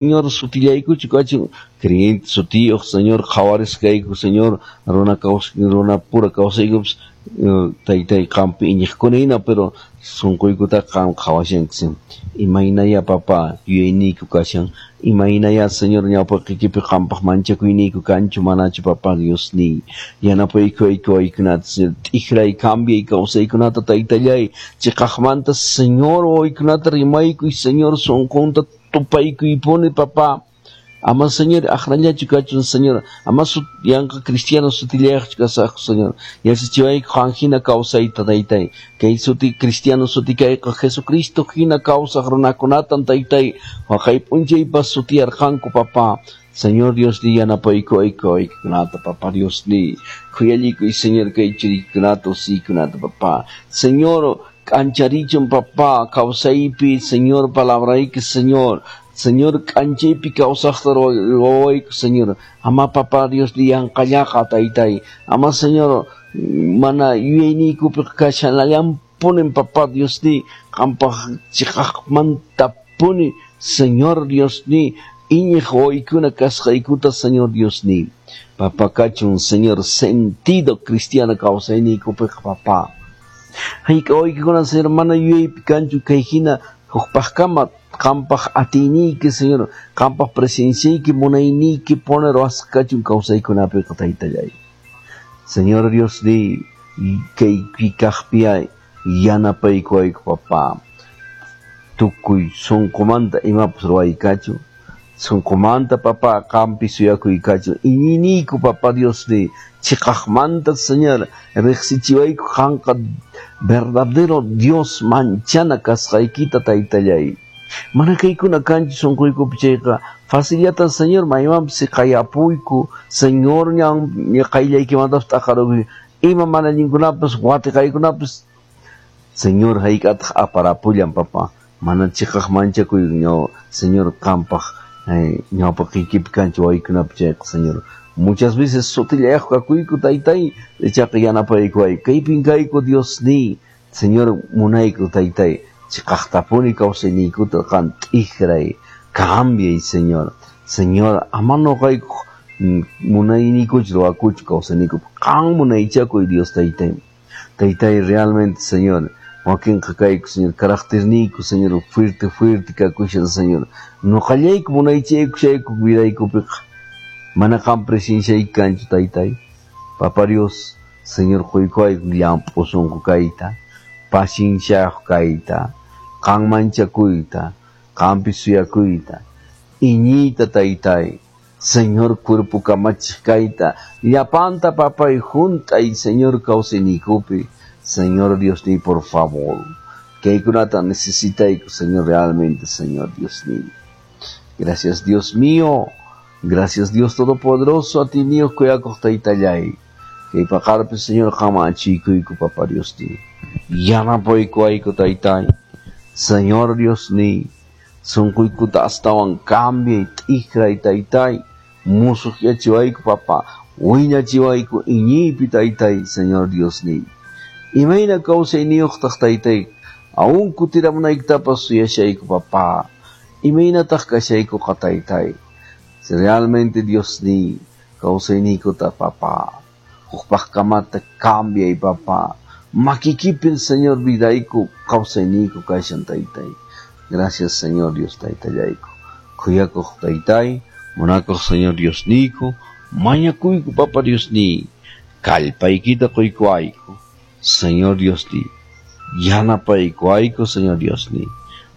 Señor sutillaykuchu kachun creyente sutiyuq Señor qhawarisqayku Señor runa runa pura kawsaykupas taytay qampi iñiqkuna hina, pero sunquykutaqa qam qhawashanki. Imaynaya, papá, yuyayniyku kashan? Imaynaya, Señor, ñawpaqiykipi qampaq manchakuyniyku kanchu manachu, papá Diosniy? Yanapaykuwayku waykunata, Señor, t'ikray, cambiay kawsaykunata, taytallay, chiqaqmanta, Señor, waykunata rimaykuy, Señor, sunqunta tupaykuypuni, papá. Ama, Señor, aqrallachu kachun, Señor, ama yanqa cristiano sutillayaqchu kasaqku, Señor. Yachachiwayku qan hina kawsayta, taytay. Kay suti cristiano suti kayqa Jesucristo hina kawsaq runakunatan, taytay, waqay p'unchaypas sutiyarqanku, papá. Señor Dios ni yanapaykuwayku waykunata, papá Dios ni khuyallikuy, Señor, kay churiykunata, usiykunata, papá. Señor, k'ancharichun, papá, kawsaypi, Señor, palabrayki, Señor. Señor, k'anchaypi kawsaqta ruwawayku, Señor. Ama, papá Dios ni yanqallaqa, taytay. Ama, Señor, mana yuyayniykupi kashanallanpunin, papá Dios ni qampaq chiqaqmantapuni, Señor Dios ni iñiq wawaykuna kasqaykuta, Señor Dios ni. Papá, kachun, Señor, sentido cristiano kawsayniykupiqa, papá. Hayk'a wawaykikuna, Señor, mana yuyaypi kanchu kay hina hukpaqkama qampaq atiyniyki, Señor, qampaq presenciayki, munayniyki pone ruwasqa kachun kawsaykunapiqa, taytallay. Señor Dios ni kay kaqpiya yanapaykuwayku, papá. Tukuy sunqumanta imapas ruwaykachu. Sunqumanta, papá, qampi suyakuykachu. Iñiniyku, papá Dios ni chiqaqmanta, Señor, riqsichiwayku qanqa verdadero Dios manchana kasqaykita, taytallay. Mana kaykuna kanchu sunquykupi chayqa facillata, Señor, maymanpas siqayapuyku, Señor, ñan qayllaykimantapas t'aqarukuy ima mana allinkunapas watiqaykunapas, Señor, hayk'ataq aparapullan, papá. Mana chiqaq manchakuy Señor qampaq ñawpaqiykipi kanchu waykunapi chayqa, Señor. Muchas veces sutillayaq kakuyku, taytay, ichaqa yanapaykuwayku. Kaypin kayku, Dios ni, Señor, munayku, taytay, chiqaqtapuni kawsayniykuta qan t'ikray, cambiay, Señor. Señor, ama nuqayku munayniykuchu ruwakuchu kawsayniykupi. Qan munaychakuy, Dios taytay. Taytay, realmente, Señor, wakinqa kayku, Señor, caracterniyku, Señor, fuerte, fuerte kakushan, Señor. Nuqallayku munaychayku vidaykupiqa. Mana qam presenciayki kanchu, taytay. Papá Dios, Señor, quykuwayku llamp'u sunqu kayta, pacienciayuq kayta, qan manchakuyta, qampi suyakuyta, iñiyta, taytay. Señor, cuerpo kamachiq kayta, llapanta, papay, hunt'ay, Señor, kawsayniykupi. Señor Dios ni, por favor. Kaykunata necesitayku, Señor, realmente, Señor Dios ni. Gracias, Dios mío. Gracias, Dios Todopoderoso, atiyniyuq kuyakuq taytallay. Kay paqarpi, Señor, qama achikuyku, papá Dios ni. Yanapaykuwayku, taytay. Señor Dios ni. Sunquykuta astawan cambiay, t'ikray, taytay. Musuqyachiwayku, papá. Wiñachiwayku iñiypi, taytay, Señor Dios ni. Imayna kawsayniyuqtaq, taytay, aún kutiramunaykitapas suyashayku, papá. Imaynataq kashaykuqa, taytay? Si realmente, Dios ni, kawsayniykuta, papá, hukpaqkamata cambiay, papá. Makikipin, Señor, vidayku, kawsayniyku kashan, taytay. Gracias, Señor Dios taytallayku. Kuyakuq taytay, munakuq Señor Dios niyku, mañakuyku, papá Dios ni, kallpaykita quykuwayku. Señor Dios ni, yanapaykuwayku, Señor Dios ni.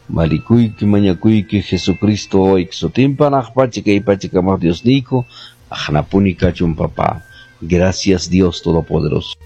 Malikuyki, mañakuyki, Jesucristo wawayki sutinpa hanaq pacha kay pacha kamaq Dios niyku, aqnapuni kachun, papá. Gracias, Dios Todopoderoso.